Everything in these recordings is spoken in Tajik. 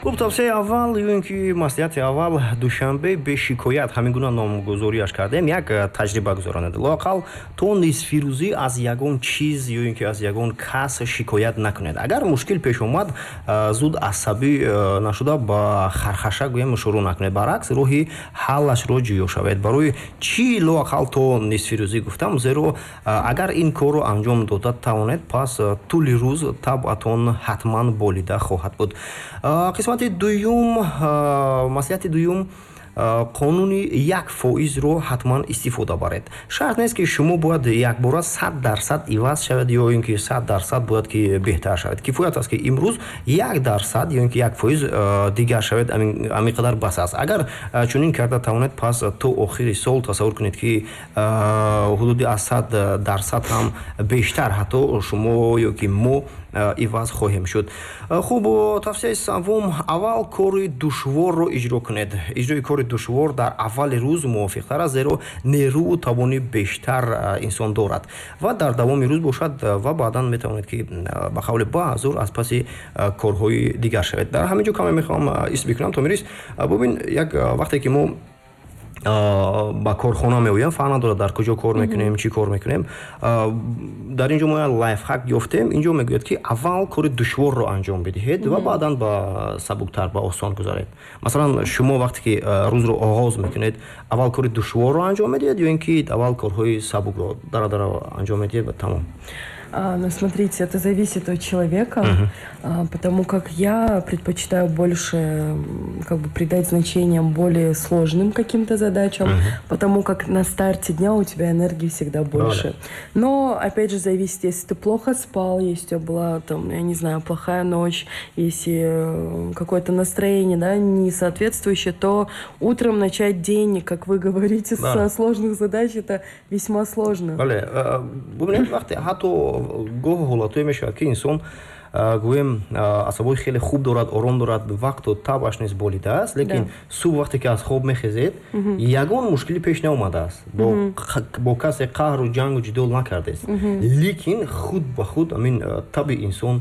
Хуб, тавсияи аввал ё ин ки маслиҳати аввал: душанбе бе шикоят, ҳамин гуна номгузориаш кардем. Як таҷриба гузаронед: лоақал то нисфирӯзӣ аз ягон чиз ё ин ки аз ягон кас шикоят накунед. Агар мушкил пеш омад, зуд асабӣ нашуда, ба хархаша гӯем шурӯъ накунед, баръакс, роҳи ҳаллашро ҷӯё шавед. Барои чӣ лоақал то нисфирӯзӣ гуфтам? Зеро агар ин корро анҷом дода тавонед, пас тӯли рӯз табъатон ҳатман болида хоҳад буд. Қисмати дуюм, маслиҳати дуюм: қонуни 1%-ро ҳатман истифода баред. Шарт нест, ки шумо бояд якбора 100% иваз шавед ё ин ки 100% бояд ки беҳтар шавед. Кифоят аст, ки имрӯз 1% ё ин ки 1% дигар шавед, ҳамин қадар бас аст. Агар чунин карда тавонед, пас то охири сол тасаввур кунед, ки ҳудуди аз 100% ҳам бештар ҳатто шумо ё ки мо иваз хоҳем шуд. Хуб, тавсияи саввум: аввал кори душворро иҷро кунед. Иҷрои кори душвор дар аввали рӯз мувофиқтар аст, зеро нерӯу тавони бештар инсон дорад ва дар давоми рӯз бошад ва баъдан метавонед, ки ба қавли баъзур аз паси корҳои дигар шавед. Дар ҳамин ҷо каме мехоҳам ис бикунам. Томирис, бубин, як вақте ки мо ба корхона меоям, фарқ надорад, дар куҷо кор мекунем, чӣ кор мекунем, дар ин ҷо мо як лайфхак ёфтем. Ин ҷо мегӯяд, ки аввал кори душворро анҷом бидиҳед ва баъдан ба сабуктар, ба осон гузаред. Масалан, шумо вақте ки рӯзро оғоз мекунед, аввал кори душворро анҷом медиҳед ё ин ки аввал корҳои сабукро дара-дара анҷом медиҳед ва тамом? Ну, смотрите, это зависит от человека, потому как я предпочитаю больше как бы придать значение более сложным каким-то задачам, потому как на старте дня у тебя энергии всегда больше. Но, опять же, зависит: если ты плохо спал, если у тебя была, там, я не знаю, плохая ночь, если какое-то настроение, да, не соответствующее, то утром начать день, как вы говорите, со сложных задач, это весьма сложно. Бале, бубинед, вақте ҳатто гоҳ ҳолатҳое мешавад, ки инсон, гӯем, асабои хеле хуб дорад, ором дорад, вақту табъаш низ болидааст, лекин субҳ вақте ки аз хоб мехезед, ягон мушкилӣ пеш наомадааст, бо касе қаҳру ҷангу ҷидол накардест, лекин худ ба худ ҳамин таби инсон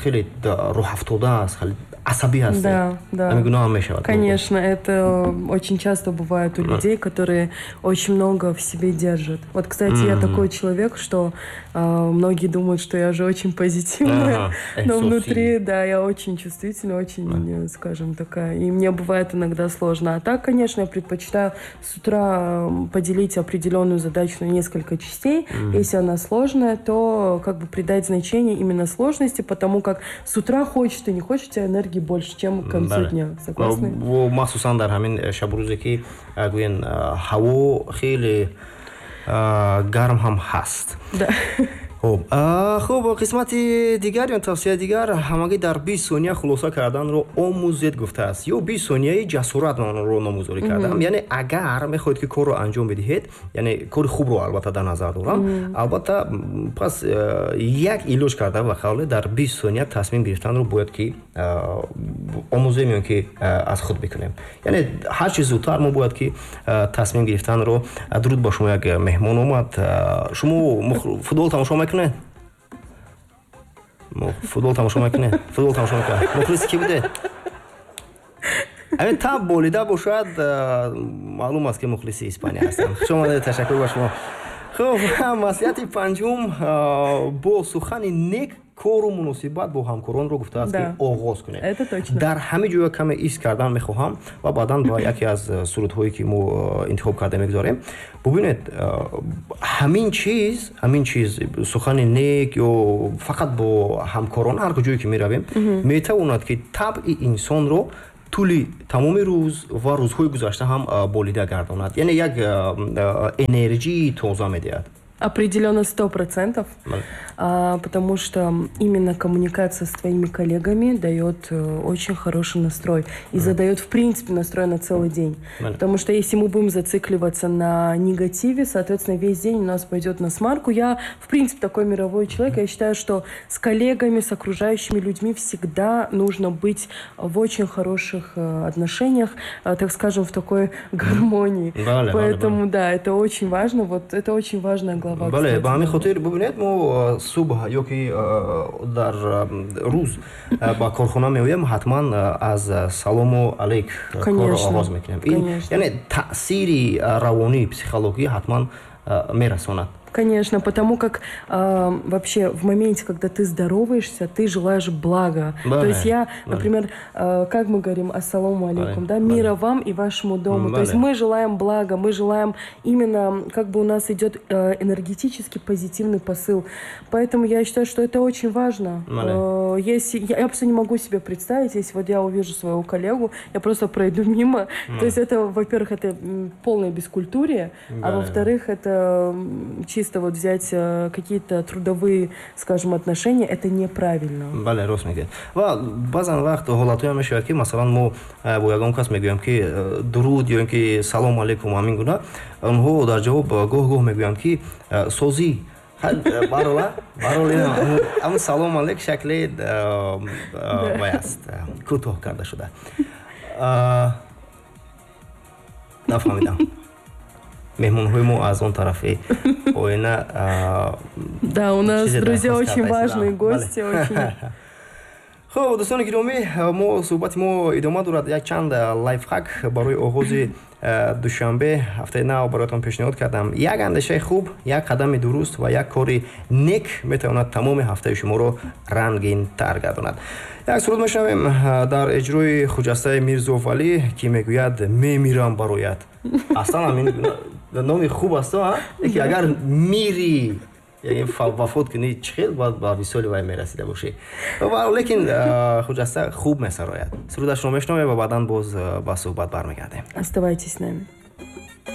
хеле рӯҳафтода аст, хеле асабӣ ҳаст. Да. Ҳамин гуна ҳам мешавад. Конечно, это очень часто бывает у людей, которые очень много в себе держат. Вот, кстати, я такой человек, что многие думают, что я же очень позитивная, но внутри, да, я очень чувствительная, очень, скажем, такая. И мне бывает иногда сложно. А так, конечно, я предпочитаю с утра поделить определенную задачу на несколько частей. Если она сложная, то как бы придать значение именно сложности, потому как с утра, хочешь ты не хочешь, у тебя энергии больше, чем к концу дня. Согласны? Махсусан дар ҳамин шабу рӯзе, ки гӯен, ҳаво хеле гарм ҳам ҳаст. Хуб, қисмати дигар ё тавсияи дигар: ҳамагӣ дар 20 сония хулоса карданро омӯзед, гуфтааст, ё 20 сонияи ҷасорат ро номгузорӣ кардам. Яъне агар мехоҳед, ки корро анҷом бидиҳед, яъне кори хубро албатта дар назар дорам, албатта, пас як илоҷ карда, ба қавле, дар 20 сония тасмим гирифтанро бояд ки омӯзем ё ки аз худ бикунем. Яъне ҳар чи зудтар мо бояд ки тасмим гирифтанро. Дуруд ба шумо, як меҳмон омад. Шумо футбол тамошо мекунед? Футбол тамошо мекунед? Футбол тамошо мекунед? Мухлиси кӣ будед? Ҳамин таб болида бошад, маълум аст, ки мухлиси Испания ҳастанд. Хуш омадед, ташаккур ба шумо. Хуб, маслиҳати панҷум: бо сухани нек кору муносибат бо ҳамкоронро, гуфтааст, ки оғоз кунед. Дар ҳамин ҷоя каме ис кардан мехоҳам ва баъдан ба яке аз сурудҳое, ки мо интихоб карда, мегузорем. Бубинед, ҳамин чиз, сухани нек ё фақат бо ҳамкорон, ҳар куҷое ки меравем, метавонад, ки табъи инсонро тӯли тамоми рӯз ва рӯзҳои гузашта ҳам болида гардонад, яъне як энерҷии тоза медиҳад. Определенно 100%, потому что именно коммуникация с твоими коллегами дает очень хороший настрой и задает, в принципе, настрой на целый день. Потому что если мы будем зацикливаться на негативе, соответственно, весь день у нас пойдет насмарку. Я, в принципе, такой мировой человек. Я считаю, что с коллегами, с окружающими людьми всегда нужно быть в очень хороших отношениях, так скажем, в такой гармонии. Поэтому, да, это очень важно. Вот это очень важная глава. слова. Бале, ба ҳамин хотир бубинед, мо субҳ ё ки дар рӯз ба корхона меоем, ҳатман аз салому алейк корро оғоз мекунем. Яъне таъсири равонӣ, психологӣ ҳатман мерасонад. Конечно, потому как вообще в моменте, когда ты здороваешься, ты желаешь блага. То есть я, например, как мы говорим, ассаламу алейкум, да, мира вам и вашему дому. То есть мы желаем блага, мы желаем именно, как бы у нас идет энергетически позитивный посыл. Поэтому я считаю, что это очень важно. Если, я просто не могу себе представить, если вот я увижу своего коллегу, я просто пройду мимо. То есть это, во-первых, это полное бескультурие, а во-вторых, это чисто вот взять какие-то трудовые, скажем, отношения, это неправильно. Бале, рост мегӯяд. Ва баъзан вақт ҳолатҳое мешавад, ки масалан мо бо ягон кас мегӯям, ки дуруд ё ин ки салом алейкум, ҳамин гуна, онҳо дар ҷавоб гоҳ гоҳ мегӯянд, ки созӣ. Барола барол, ҳамун салом алейк шакли вай аст, кӯтоҳ карда шуда. Нафаҳмидам, меҳмонҳои мо аз он тарафи оина. Да, у нас, друзья, очень важные гости, очень. Хуб, дӯстони гиромӣ, мо суҳбати мо идома дорад. Як чанд лайфхак барои оғози душанбе, ҳафтаи нав бароятон пешниҳод кардам. Як андешаи хуб, як қадами дуруст ва як кори нек метавонад тамоми ҳафтаи шуморо рангинтар гардонад. Як суруд мешунавем дар иҷрои Хуҷастаи Мирзовалӣ, ки мегӯяд: «Мемирам бароят». Аслан ҳамин номи хуб аст, ки агар мири, яъне вафот кунӣ, чӣ хел бояд ба висоли вай мерасида бошӣ? Лекин Хуҷаста хуб месарояд. Сурудашро мешунавем ва баъдан боз ба суҳбат бармегардем. Оставайтесь с нами.